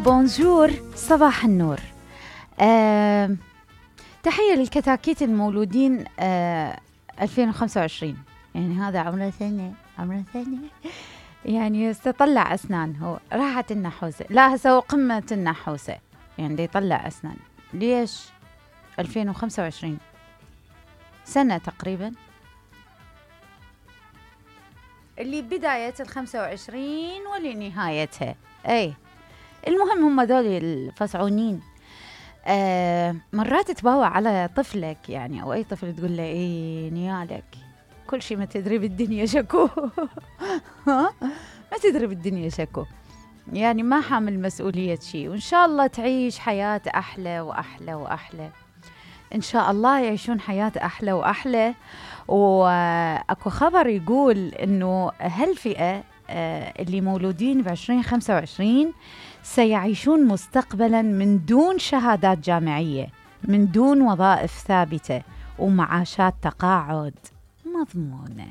بونجور، صباح النور. تحية للكتاكيت المولودين 2025. يعني هذا عمره سنة يعني يستطلع أسنان. هو راحت النحوسة، لا هسه هو قمة النحوسة، يعني دي يطلع أسنان. ليش 2025 سنة تقريبا، اللي بداية 25 واللي نهايتها. أي المهم هم دول الفصعونين. مرات تباوع على طفلك يعني، أو أي طفل تقول له إيه نيالك كل شيء ما تدري بالدنيا شكو. ما تدري بالدنيا شكو، يعني ما حامل مسؤولية شيء. وإن شاء الله تعيش حياة أحلى وأحلى وأحلى، إن شاء الله يعيشون حياة أحلى وأحلى. وأكو خبر يقول إنه هالفئة اللي مولودين ب2025 سيعيشون مستقبلا من دون شهادات جامعية، من دون وظائف ثابتة، ومعاشات تقاعد مضمونة.